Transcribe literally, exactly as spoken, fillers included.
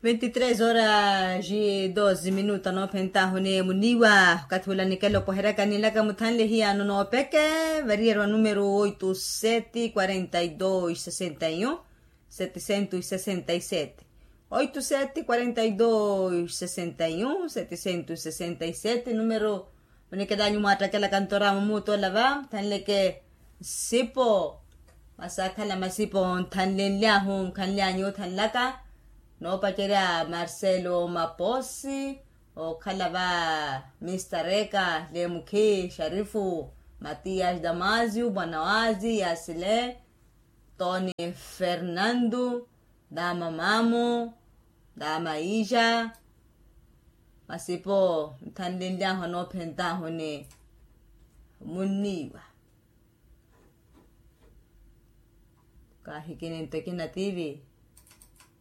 Ventitres horas e doze minutos anoophentahuni muniiwa. Okathi ula nikela opoheryaka ninlaka muthanle hiyano noopeke. Variyerwa numero oito sete quarenta e dois sessenta e um setecentos e sessenta e sete. Oito sete quarenta e dois sessenta e um setecentos e sessenta e sete numero. Munikela anyu mwaattakela kantora mumuutola va muthanleke nsipo. Masi akhala masipo nthanlenlyahu nkhanlyanyu othanlaka. Noopacerya marcelo maposi okhala va mistareka lemukhi sharifu matiyas damasio bwanawazi yasile toni fernando dama mamu dama ija. Masipo nthanlenlyahu anoophentahuni munniiwa. Kaahikini nto ekina tivi.